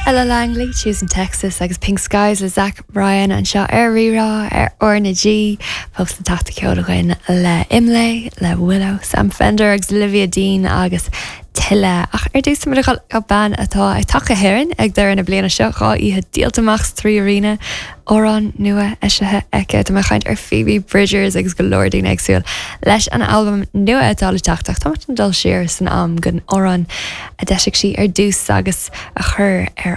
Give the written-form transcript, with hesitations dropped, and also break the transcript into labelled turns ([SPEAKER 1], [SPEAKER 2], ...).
[SPEAKER 1] Ella Langley, Tuesday in Texas agus Pink Skies le Zach Bryan anseo ar Rí-Rá ar R na G. Fós na taifid ceoil againn le Imlé, le Willow, Sam Fender agus Olivia Dean agus tuilleadh. Ach ar dtús táimid ag dul go bean atá ag teacht go hÉirinn ag deireadh na bliana seo, 2 oíche díolta amach sa 3Arena, amhrán nua eisithe aici. Tá mé ag caint ar Phoebe Bridgers agus go leor daoine ag súil leis an albam nua atá le teacht ach táimid ag dul siar san am don amhrán a d'eisigh sí ar dtús agus a chuir ar